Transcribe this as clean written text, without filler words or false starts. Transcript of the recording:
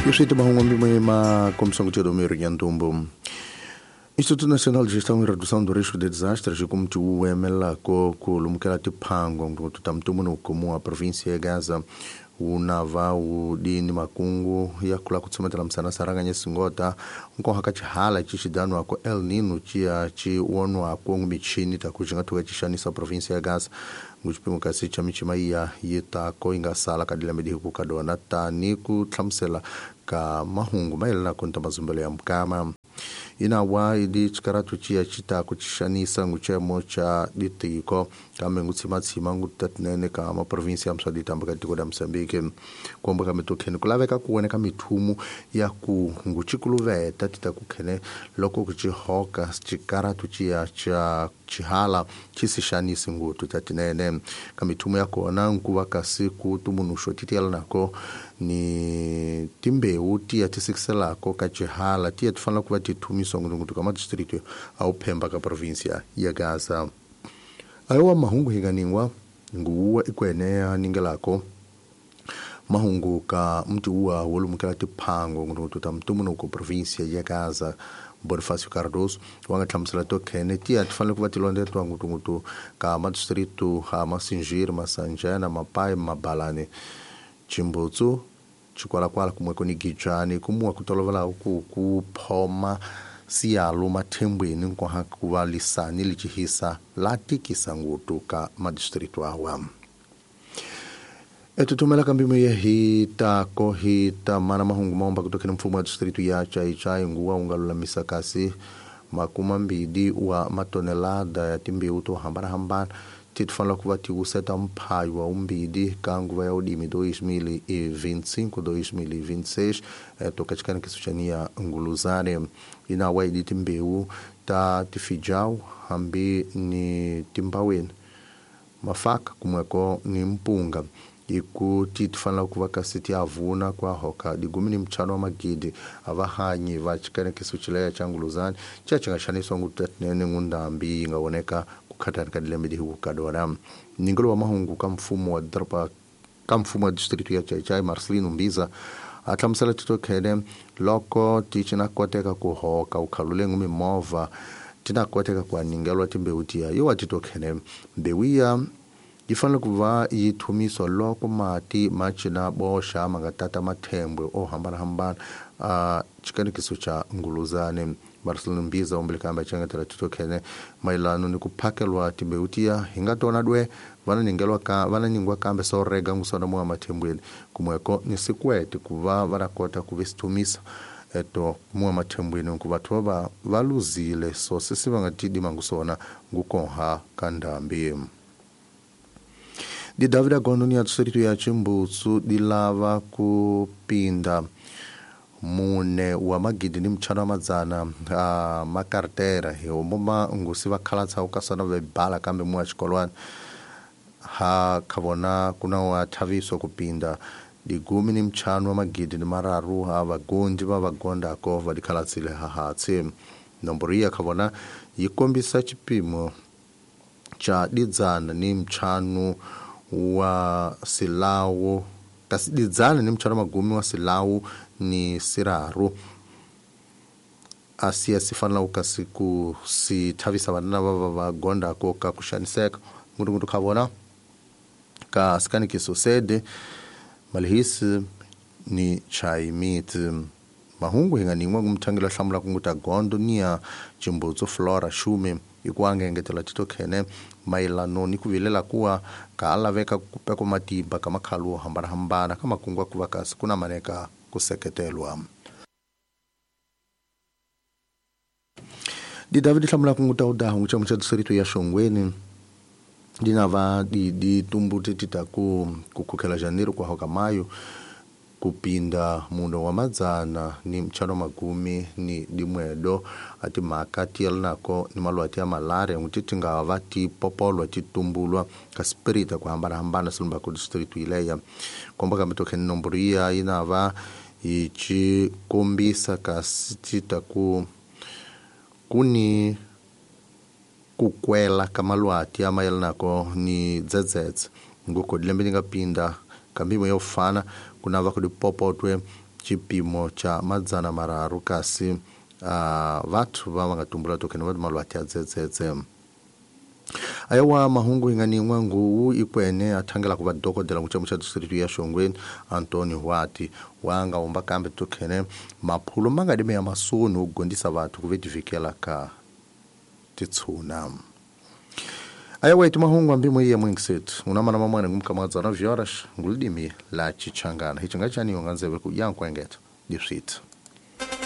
Iswiti mahungu mbimwe ma comissão de meio ya ntumbu. Instituto Nacional de Gestão e Redução do Risco de Desastres kumti uemelako kulumukela tiphango nkututa mtumunu kumu a província ya Gaza unava udini makungu yakula kutsometela msana saranganya singota nkoha ka chihala chixidanwako El Nino ciya ci wonwako michini taku xi nga thuka ci xanisa província ya Gaza nguxipimo kasi xa michima iya yi tako yi nga sala ka dilembe dihiku ka dona tani ku hlamusela ka mahungu mayelanako ni ta mazumbelo ya mukama inawa idi xikaratu ciya ci ta ku ci xanisa ngucemo xa ditiko kambe ngutshimatshima ngutatinene ka maprovinsi ya mswa ditamba ka tiko la Mozambique komba ka mitokheni ku laveka ku wena ka mithumu ya ku nguchikuluveta ti ta ku khene loko ku ci hoka xikaratu ciya xa xihala xi si xanisi nguthu ta tinene ka mithumu ya kona nkuva kasi ku tumunhuxo ti tiyelanako ni timbewu tiya ti sikiselako ka xihala tiya ti fanela ku va ti thumiswa ngutunguthu ka madistrito a wu phemba ka província ya Gaza. Ayowa mahungu hinganingwa nguwa ikwene aningelako mahungu ka mti uwa wolumukela tiphango ngutunguthu ta mtumunuko província ya Gaza Bonifácio Cardoso wanga hlamusela to khene tiya ti fanele ku va ti londzetiwa ngutunguthu ka madistrito a Masinjiri, Masanjana, Mapai, Mabalane, Chimbutsu, Chikwalakwala kumweko ni Gijani kumuwa ku tolovela ku phoma siyalo mathembweni nkoha ku va lisani lichihisa la tikisa ngutu ka madistrito awa. Etutumela kambimo ye hi tako hi ta mana mahungu maomba kutokena mfumo wa distrito ya Chaichai nguwa ungalulamisa kasi 20 wa matonelada ya timbewu to hambana-hambana ti fanela ku va ti wuseta mphayo wa umbidi ka nguva ya udimi 2025 2026 toka chikanikiso xa niya nguluzane inawa idi timbewu ta tifijau hambi ni timbaweni mafaka kumweko ni mpunga iku ti fanela ku va kasi ti avuna kwa hoka digumi ni mchano wa magidi avahanyi va chikanikiso chileya cha nguluzane cha chi nga xaniswa ngutinene ngundambi yi nga voneka khatani ka dilembe dihiku ka dona. Ningelo wa mahungu ka mfumo wa doroba ka mfumo wa distrito ya Chaichai Marcelino Mbiza a hlamusela tito khene loko ti ci na koteka ku hoka u khalulengu mimovha ti na koteka ku aningelwa timbewu tiya yo wa tito khene mbewu ya yi fanele ku va yi thumiswa loko mati ma cina boxa ma nga tata mathembwe o hambanahambana a xikanikiso xa nguluzane. Marcelino Mbiza umbelekamba changatela tito khene mayelano ni ku phakelwa timbewu tiya hi nga tona dwe vana ningelwa ka vana ningwa kambe so rega ngusona mwa mathembweni kumweko ni sikwete ku va va kota ku visithumisa eto mwa mathembweni ku vathu va va luzile so sisi va nga tidima ngusona ngukonha ka ndhambi. Di David Agondo ni ya distrito ya Chimbutsu di lava ku pinda 4 wa magidi ni mchano wa madzana a makartera hi omoma ngusi va khalatsa u kasana ve bala kambe mwa xikolwana ha khavona kuna wa thaviso ku pinda digumi ni mchano wa magidi ni mararu ha vagondi va vagondako va dikhalatsile ha hatsi. Nomboro iya khavona yi kombisa xipimo xa didzana ni mchano wa silawu kasi didzana ni mchano magumi wa silawu ni siraru asiya si fanela ku kasi ku si thavisa vana va va gondako ka ku xaniseka ngutunguthu kha vona ka sikanikiso sede malihisi ni chaimiti. Mahungu hi nga ningwa ngumthangela hlamula kunguta gondo niya Chimbutsu Flora Shume ikuanga engetela tito khene mayelano ni ku vilela kuwa ka laveka ku peko matimba ka makhalu hambana-hambana ka makungu ku va kasi ku na maneka ku seketelwa. Di David hlamula kunguta udahu ngucha mucha distrito ya Shongweni dinava di tumbuti tita ku khukhela janeiro kwa hoka mayo kupinda mundo wa madzana ni mchano magumi ni dimwedo ati mhaka ti yelanako ni malwati ya malaria nguti ti nga va ti popolwa ti tumbulwa ka spirita ku hambanahambana silumba ku district ileya komba kambe tokheni nomboro iya yi na va yi ci kombisa kasi ti ta ku ni ku kwela ka malwati ya mayelanako ni dzedzedze ngoko dilembe ni nga pinda kambimo yo fana kunava ku dipopotwe Xipimo cha 300 kasi vathu va nga tumbula tokhene va malwati ya dzedzedze. Ayawa mahungu ingani n'wangu ikwene athangela kuva dokodela kuchamu cha district ya Shongweni Antonio Hwati wanga umba kambe tokhene maphulo mangadime ya masoni ugondisa vathu kuvetivikela ka titsuna. Ayawa iti mahungu ambimo iya mwingisetu unamana mamwana ngumkamadzana vyoras ngulidimi la chichangana hicho ngachaniyo nganzeve ku yankwengeta diswit.